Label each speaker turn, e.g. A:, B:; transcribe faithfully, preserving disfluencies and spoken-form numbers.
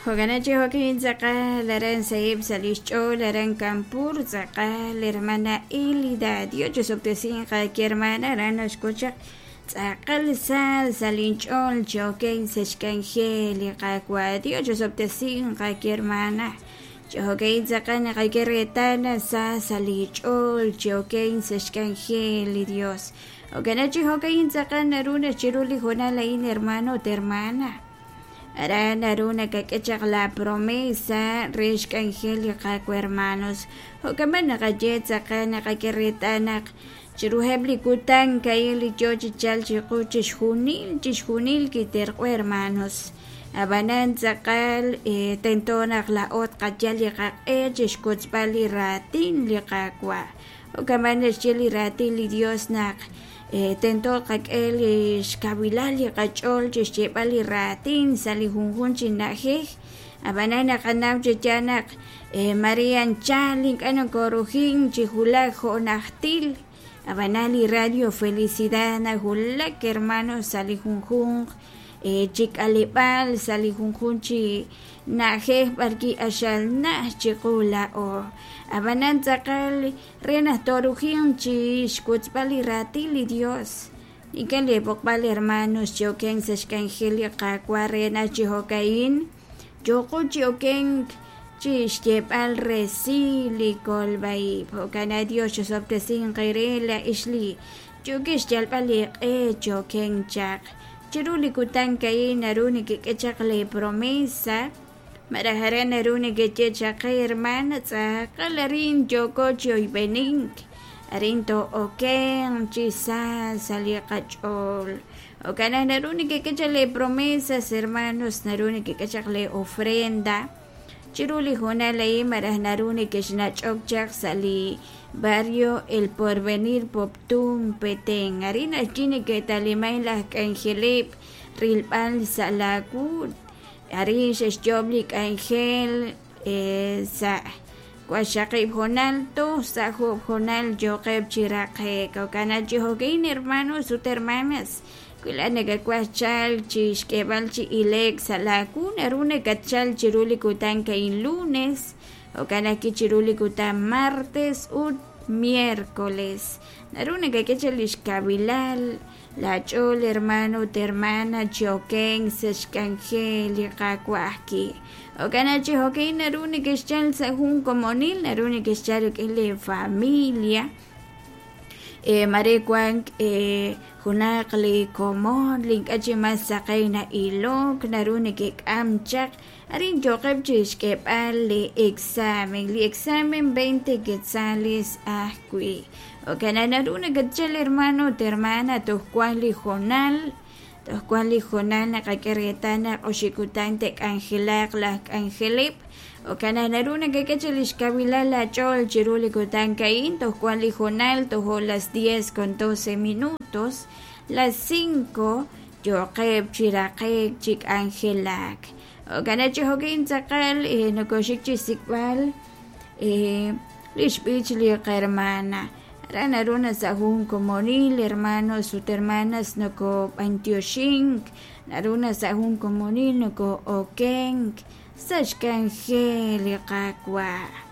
A: Jo'kan chi jo'kin tz'aqal aran sahib' sa' lix ch'ool aran Kanpur tz'aqal hermana Elida Dios chisob'tesinq hermana aran naxkuchaq tz'aqal sa sa' linch'ool chi oken sa' xk'anjel li Qaawa' Dios chisob'tesinq hermana chi jo'kin tz'aqal naqak'e reetal sa sa' li ch'ool chi oken sa' xk'anjel li Dios. Jo'kan chi jo'kin tz'aqal naru nachiru li hoonal a'in hermano ut hermana aran naru nakak'e chaq la promesa re xk'anjel li Qaawa' hermanos. Jo'kan b'an naqaye tz'aqal naqak'e reetal naq chiruheb' li kutan ka'in li yoo chi chalk chiqu chixjunil chixjunil kiterq'o hermanos. Ab'anan tz'aqal tento naq laa'o tqayal li qaq'e chixkotzb'al li raatin li Qaawa'. Jo'kan b'an naxye li raatin li Dios naq tento qak'e li xkawilal li qach'ool chixyeeb'al li raatin sa' li junjunq chi na'ajej. Ab'anan naqanaw chi yaal naq Maria anchal ink'a' nokorujin chi wulak jo' najtil. Ab'anan li Radio Felicidad nawulak hermanos sa' li junjunq chi k'aleb'aal sa' li junjunq chi na'ajej b'arwi' axal naj chiqu laa'o. Ab'anan tz'aqal re naq torujin chi xkotzb'al li raatin li Dios. Ink'a' li b'oqb'al hermanos chi oken sa' xk'anjel li Qaawa' re naq chi jo'ka'in yooqo chi oken chi xyeeb'al resil li kolb'aib'. Jo'kan Dios chisob'tesinq eere la'ix li yookeb' xyalb'al li q'e chi oken chaq. Chiru li kutan ka'in naru nekek'e chaq li promesa malaj aran naru nekeye chaq qe hermana tz'aqal arin yooko chi oyb'enink arin to'oken chi sa sa' li qach'ool. Jo'kan naq naru nekek'e chaq li promesas hermanos naru nekek'e chaq li ofrenda chiru li hoonal a'in malaj naru nekexnach'ok chaq sa' li barrio El Porvenir Poptún Petén. Arin ajwi' neke'taliman laj k'anjeleb' rilb'al sa' laawu. Arin xe'xyoob' li k'anjel sa' waxaqib' hoonal toj sa' jo'oob' hoonal yooqeb' chi raqe'k. Jo'kan chi jo'kin hermanos ut hermanas wi laa'at nakawaj chalk chi xk'eeb'al chi ile'k sa' laawu naru nakatchalk chiru li kutan ka'in lunes jo'kan ajwi' chiru li kutan martes ut miércoles. Naru nakak'e chaq li xkawilal la ch'ool hermano ut hermana chi oken sa' xk'anjel li Qaawa' ajwi'. Jo'kan chi jo'kin naru nekexchalk sa' jun komonil naru nekexchalk rik'in li familia. Mare wank junaq li komon li ink'a' chi mas saqen na'ilok naru nekek'am chaq arin yooqeb' chi xk'eeb'al li examen li examen veinte quetzales ajwi'. Jo'kan naru nakatchal hermano ut hermana toj wank li hoonal toj wank li hoonal naqak'e reetal naq oxib' kutan te'k'anjelaq laj k'anjeleb'. Jo'kan naq naru nakak'e chaq li xkawilal laach'ool chiru li kutan ka'in toj wank li hoonal tojo las diez con doce minutos las cinco yooqeb' chi raqe'k chi k'anjelak. Jo'kan chi jo'kin tz'aqal nokoxik chi xsik'b'al li xb'ich li qahermana. Aran naru na sa' jun komonil hermanos ut hermanas nokob'antioxink naru na sa' jun komonil noko'okenk sa' xk'anjel li Qaawa'.